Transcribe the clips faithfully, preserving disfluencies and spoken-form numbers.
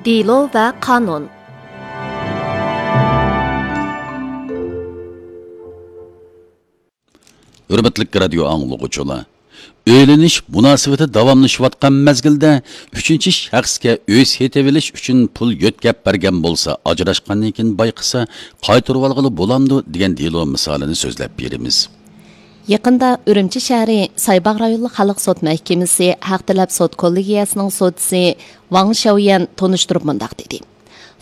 دېلو ۋە قانۇن. ھۆرمەتلىك رادىيو ئاڭلىغۇچىلار، ئۆيلىنىش مۇناسىۋىتى داۋاملىشىۋاتقان مەزگىلدە ئۈچىنچى شەخسكە ئۆي سېتىۋېلىش ئۈچۈن پۇل يۆتكەپ بەرگەن بولسا، ئاجراشقاندىن كېيىن بايقىسا، قايتۇرۇۋالغىلى بولامدۇ دېگەن دېلو مىسالىنى سۆزلەپ بېرىمىز. يېقىندا ئۈرۈمچى شەھىرى سايباغ رايونلۇق خەلق سوت مەھكىمىسى ھەق تەلەپ سوت كوللېگىيەسىنىڭ سودىسى ۋاڭ شياۋيەن تونۇشتۇرۇپ مۇنداق دېدى: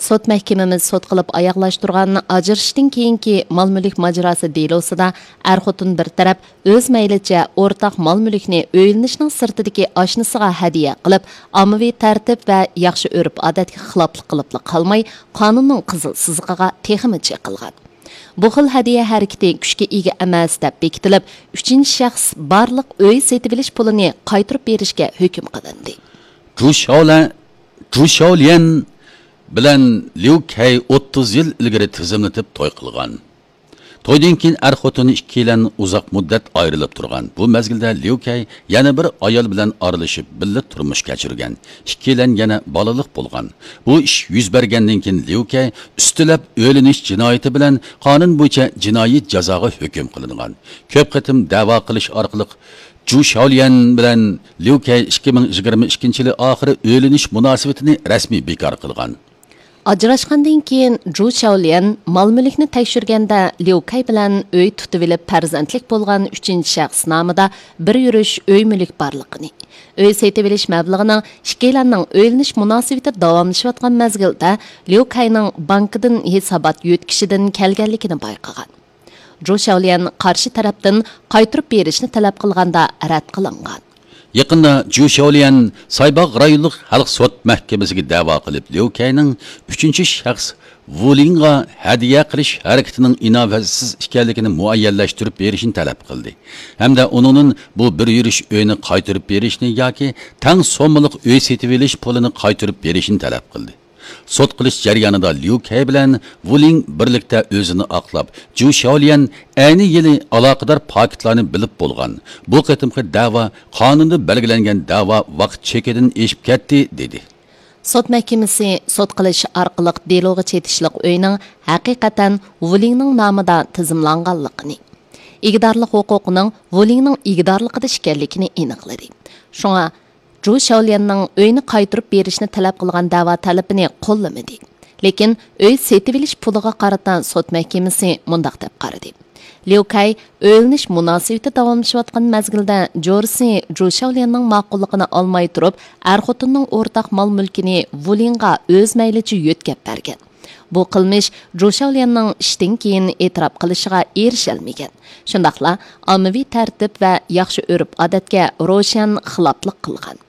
سوت مەھكىمىمىز سوت قىلىپ ئاياغلاشتۇرغان ئاجرىشىشتىن كېيىنكى مال مۈلۈك ماجىراسى دېلوسىدا ئەر خوتۇن بىر تەرەپ ئۆز مەيلىچە ئورتاق مال مۈلۈكنى ئۆيلىنىشنىڭ سىرتىدىكى ئاشنىسىغا ھەدىيە قىلىپ، ئاممىۋى تەرتىپ ۋە ياخشى ئۆرپ ئادەتكە خىلاپلىق قىلىپلا قالماي، قانۇننىڭ قىزىل سىزىقىغا تېخىمۇ چېقىلغان. بۇ خىل ھەدىيە ھەرىكىتى كۈچكە ئىگە ئەمەس دەپ بېكىتىلىپ، ئۈچىنچى شەخس بارلىق ئۆي سېتىۋېلىش پۇلىنى قايتۇرۇپ بېرىشكە ھۆكۈم قىلىندى. جۇ شاۋلە-، جۇ شاۋليەن بىلەن ليۇ كەي ئوتتۇز يىل ئىلگىرى تىزىملىتىپ توي قىلغان. تويدىن كېيىن ئەر خوتۇن ئىككىيلەن ئۇزاق مۇددەت ئايرىلىپ تۇرغان. بۇ مەزگىلدە ليۇ كەي يەنە بىر ئايال بىلەن ئارىلىشىپ، بىللە تۇرمۇش كەچۈرگەن. ئىككىيلەن يەنە بالىلىق بولغان. بۇ ئىش يۈز بەرگەندىن كېيىن ليۇ كەي ئۈستىلەپ ئۆيلىنىش جىنايىتى بىلەن قانۇن بويىچە جىنايى جازاغا ھۆكۈم قىلىنغان. كۆپ قېتىم دەۋا قىلىش ئارقىلىق جۇ شاۋليەن بىلەن ليۇ كەي ئىككى مىڭ يىگىرمە ئىككىنچى يىلى ئاخىرى ئۆيلىنىش مۇناسىۋىتىنى رەسمىي بىكار قىلغان. ئاجراشقاندىن كېيىن جۇ شاۋليەن مال مۈلۈكنى تەكشۈرگەندە، ليۇ كەي بىلەن ئۆي تۇتۇۋېلىپ پەرزەنتلىك بولغان ئۈچىنچى شەخس نامىدا بىر يۈرۈش ئۆي مۈلۈك بارلىقىنى، ئۆي سېتىۋېلىش مەبلىغىنىڭ ئىككىيلەننىڭ ئۆيلىنىش مۇناسىۋىتى داۋاملىشىۋاتقان مەزگىلدە ليۇ كەينىڭ بانكىدىن ھېسابات يۆتكىشىدىن كەلگەنلىكىنى بايقىغان. جۇ شاۋليەن قارشى تەرەپتىن قايتۇرۇپ بېرىشنى تەلەپ قىلغاندا رەت قىلىنغان. يېقىندا جۇ شاۋليەن سايباغ رايونلۇق خەلق سوت مەھكىمىسىگە دەۋا قىلىپ، ليۇ كەينىڭ ئۈچىنچى شەخس ۋۇ لىڭغا ھەدىيە قىلىش ھەرىكىتىنىڭ ئىناۋەتسىز ئىكەنلىكىنى مۇئەييەنلەشتۈرۈپ بېرىشنى تەلەپ قىلدى ھەمدە ئۇنىڭدىن بۇ بىر يۈرۈش ئۆينى قايتۇرۇپ بېرىشنى ياكى تەڭ سوممىلىق ئۆي سېتىۋېلىش پۇلىنى قايتۇرۇپ بېرىشنى تەلەپ قىلدى. سوت قىلىش جەريانىدا ليۇ كەي بىلەن ۋۇ لىڭ بىرلىكتە ئۆزىنى ئاقلاپ، جۇ شاۋليەن ئەينى يىلى ئالاقىدار پاكىتلارنى بىلىپ بولغان. بۇ قېتىمقى دەۋا قانۇندا بەلگىلەنگەن دەۋا ۋاقىت چېكىدىن ئېشىپ كەتتى، دېدى. سوت مەھكىمىسى سوت قىلىش ئارقىلىق دېلوغا چېتىشلىق ئۆينىڭ ھەقىقەتەن ۋۇ لىڭنىڭ نامىدا تىزىملانغانلىقىنى، ئىگىدارلىق ھوقۇقىنىڭ ۋۇ لىڭنىڭ ئىگىدارلىقىدا ئىكەنلىكىنى ئېنىقلىدى. شۇڭا جۇ شاۋليەننىڭ ئۆينى قايتۇرۇپ بېرىشنى تەلەپ قىلغان دەۋا تەلىپىنى قوللىمىدى. لېكىن ئۆي سېتىۋېلىش پۇلىغا قارىتا سوت مەھكىمىسى مۇنداق دەپ قارىدى: ليۇ كەي ئۆيلىنىش مۇناسىۋىتى داۋاملىشىۋاتقان مەزگىلدە جورىسى جۇ شاۋليەننىڭ ماقۇللۇقىنى ئالماي تۇرۇپ، ئەر خوتۇننىڭ ئورتاق مال مۈلكىنى ۋۇ لىڭغا ئۆز مەيلىچە يۆتكەپ بەرگەن. بۇ قىلمىش جۇ شاۋليەننىڭ ئىشتىن كېيىن ئېتىراپ قىلىشىغا ئېرىشەلمىگەن. شۇنداقلا ئاممىۋى تەرتىپ ۋە ياخشى ئۆرپ-ئادەتكە روشەن خىلاپلىق قىلغان.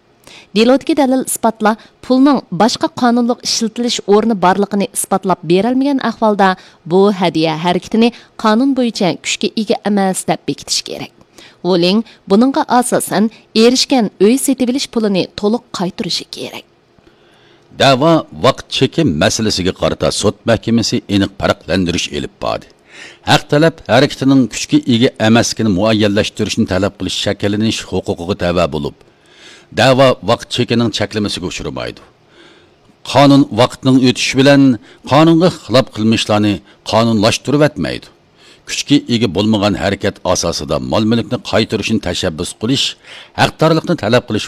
دېلودىكى دەلىل-ئىسپاتلار پۇلنىڭ باشقا قانۇنلۇق ئىشلىتىلىش ئورنى بارلىقىنى ئىسپاتلاپ بېرەلمىگەن ئەھۋالدا، بۇ ھەدىيە ھەرىكىتىنى قانۇن بويىچە كۈچكە ئىگە ئەمەس دەپ بېكىتىش كېرەك. ۋۇ لىڭ بۇنىڭغا ئاساسەن ئېرىشكەن ئۆي سېتىۋېلىش پۇلىنى تولۇق قايتۇرۇشى كېرەك. دەۋا ۋاقىت چېكى مەسىلىسىگە قارىتا سوت مەھكىمىسى ئېنىق پەرقلەندۈرۈش ئېلىپ باردى. ھەق تەلەپ ھەرىكىتىنىڭ كۈچكە ئىگە ئەمەسلىكىنى مۇئەييەنلەشتۈرۈشنى تەلەپ قىلىش شەكىللىنىش ھوقۇقىغا تەۋە بولۇپ، دەۋا ۋاقىت چېكىنىڭ چەكلىمىسىگە ئۇچرىمايدۇ. قانۇن ۋاقىتنىڭ ئۆتۈشى بىلەن قانۇنغا خىلاپ قىلمىشلارنى قانۇنلاشتۇرۇۋەتمەيدۇ. كۈچكە ئىگە بولمىغان ھەرىكەت ئاساسىدا مال-مۈلۈكنى قايتۇرۇشنى تەشەببۇس قىلىش، ھەقدارلىقنى تەلەپ قىلىش